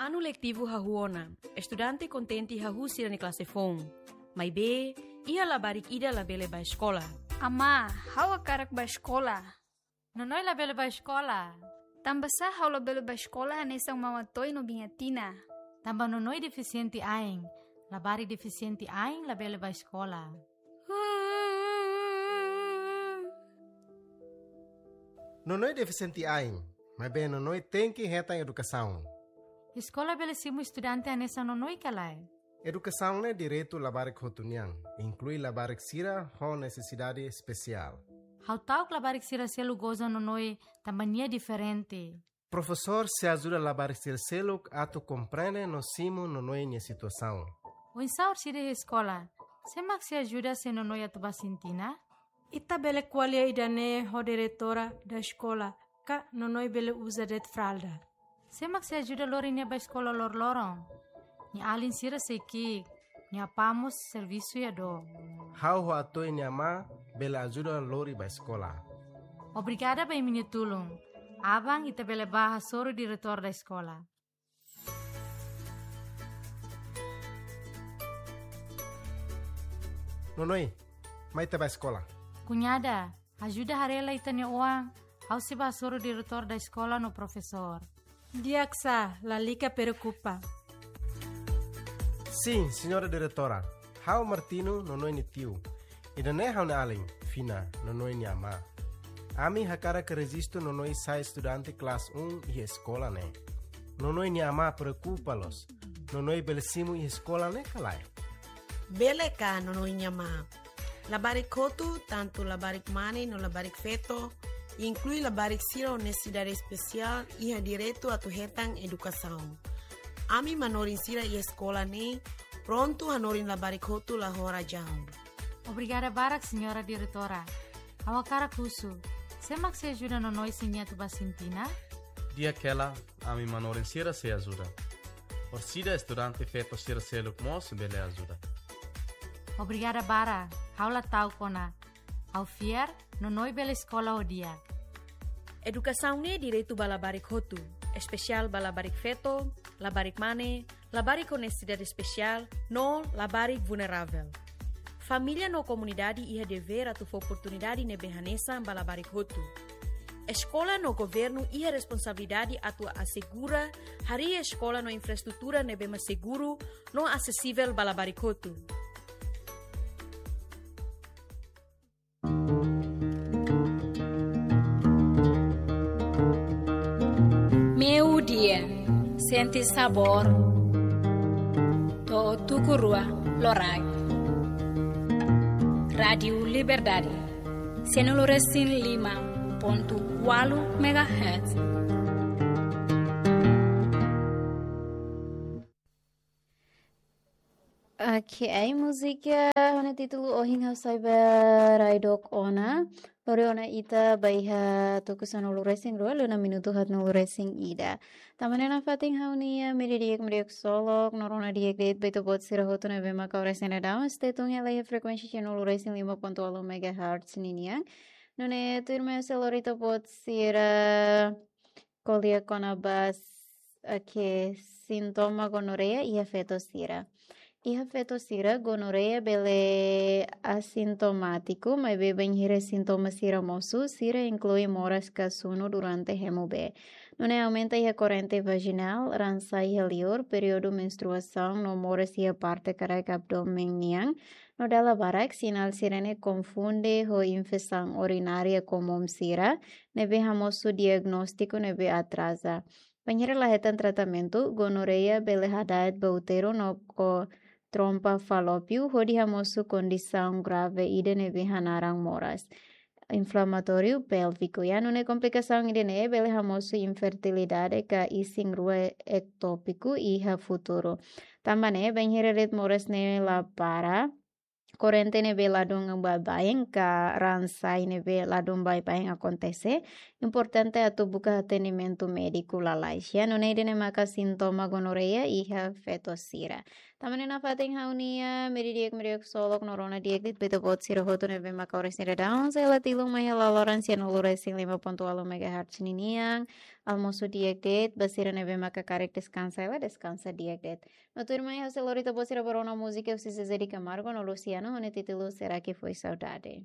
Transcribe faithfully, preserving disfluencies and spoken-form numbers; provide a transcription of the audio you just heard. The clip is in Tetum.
Anu letivu hahú ona, estudante kontente hahú sira-nia klase foun. Maibé, iha labarik ida labele bá eskola. Amá, ha'u hakarak bá eskola. Nonoi labele bá eskola. Tanbasá ha'u labele bá eskola hanesan Mama Toy no Biña Tina? Tanba Nonoi defisiente ain. Labarik defisiente ain labele bá eskola. Nonoi defisiente ain, maibé Nonoi tenke hetan edukasaun. Eskola bele simu estudante hanesan Nonoi ka lae? Edukasaun ne'e direitu labarik hotu nian, inklui labarik sira ho nesesidade espesiál. Ha'u ta'uk labarik sira seluk goza Nonoi tanba nia diferente. Profesór sei ajuda labarik sira seluk atu komprende no simu Nonoi nia situasaun. Oinsá orsida iha eskola, sé mak sei ajuda se Nonoi atu bá sintina? Ita bele ko'alia ida-ne'e ho diretora da eskola, ka Nonoi bele uza de'it fralda. Sé mak sei ajuda lori nia bá eskola loroloron? Nia alin sira sei ki'ik, nia apá mós servisu iha dook. Ha'u ho Atoy nia amá bele ajuda lori bá eskola. Obrigada ba imi-nia tulun. Aban ita bele bá hasoru diretór da eskola. Nonoi, mai ita bá eskola. Kuñada, ajuda haree lai ita-nia oan, ha'u sei bá hasoru diretór da eskola no profesór. Di'ak sá, lalika preokupa. Sin, señora diretora. Ha'u Martino, Nonoi nia tiu. Ida-ne'e ha'u-nia alin, Fina, Nonoi nia amá. Ami hakarak rejistu Nonoi sai estudante klase um iha eskola ne'e. Nonoi nia amá preokupa loos. Nonoi bele simu iha eskola ne'e ka lae? Bele ka, Nonoi nia amá. Labarik hotu, tantu labarik mane no labarik feto, inklui labarik sira ho nesesidade espesiál, iha direitu atu hetan edukasaun. Ami manorin sira iha eskola ne'e prontu hanorin labarik hotu la ho razaun. Obrigada barak, señora diretora. Ha'u hakarak husu, sé mak sei ajuda Nonoi se nia atu bá sintina? Di'ak hela, ami manorin sira sei ajuda. Orsida estudante feto sira seluk mós bele ajuda. Obrigada barak, ha'u la ta'uk ona. Ha'u fiar, Nonoi bele eskola ho di'ak. Edukasaun ne'e direitu ba labarik hotu, espesiál ba labarik feto, labarik mane, labarik ho nesesidade espesiál, no labarik vulneravel. Família no komunidade iha devér atu fó oportunidade ne'ebé hanesan ba labarik hotu. Eskola no governu iha responsabilidade atu asegura harii eskola no infraestrutura ne'ebé mak seguru no asesivel ba labarik hotu. Meiudia, sente sabór to'o tuku rua loraik. Rádiu Liberdade, sanulu resin lima pontu ualu megahertz. Ok, múzika ho títulu Ohin Ha'u Sai Bá Rai Dook Ona. Lori ona ita ba iha tuku sanulu resin rua, liu ona minutu haatnulu resin ida. Tanba ne'e nafatin ha'u-nia media di'ak, media ksolok, no rona di'ak de'it ba ita-boot sira hotu ne'ebé maka oras ne'e daudaun stay tune hela iha frekuénsia sanulu resin lima pontu ualu megahertz ninian. Nune'e tuirmai ha'u sei lori ita-boot sira ko'alia kona-ba s-, ok, sintoma gonoreia iha feto sira. Iha feto sira, gonoreia bele asintomátiku, maibé bainhira sintoma sira mosu, sira inklui moras ka sunu durante hemu bee. Nune'e aumenta iha korrente vajinál, raan sa'e iha liur, períodu menstruasaun no moras iha parte karaik abdómen nian, no dala barak, sinál sira-ne'e konfunde ho infesaun urinária komún sira, ne'ebé hamosu diagnóstiku ne'ebé atraza. Bainhira la hetan tratamentu, gonoreia bele hada'et ba úteru no ko trompa falópiu, hodi hamosu kondisaun grave ida ne'ebé hanaran moras inflamatóriu pélviku. Ya, nune'e komplikasaun ida-ne'e bele hamosu infertilidade ka isin-rua ektópiku iha futuru. Tanba ne'e, bainhira de'it moras ne'e la para, korrente ne'ebé ladún baibain ka raan sa'e ne'ebé ladún baibain akontese, importante atu buka atendimentu médiku lalais. Ya, nune'e ida-ne'e maka sintoma gonorreia iha feto sira. Tan ne'e nafatin ha'u-nia, media di'ak, media ksolok no rona di'ak de'it ba ita-boot sira hotu ne'ebé maka oras ne'e daudaun sei la tilun mai hela loran sian ulu resin lima pontu ualu megahertz ninian. Almosu di'ak de'it, ba sira ne'ebé maka karik deskansa hela, deskansa di'ak de'it. No tuirmai ha'u sei lori ita-boot sira ba rona múzika husi Zezé de Camargo no Luciano, ho nia títulu Será que foi saudade.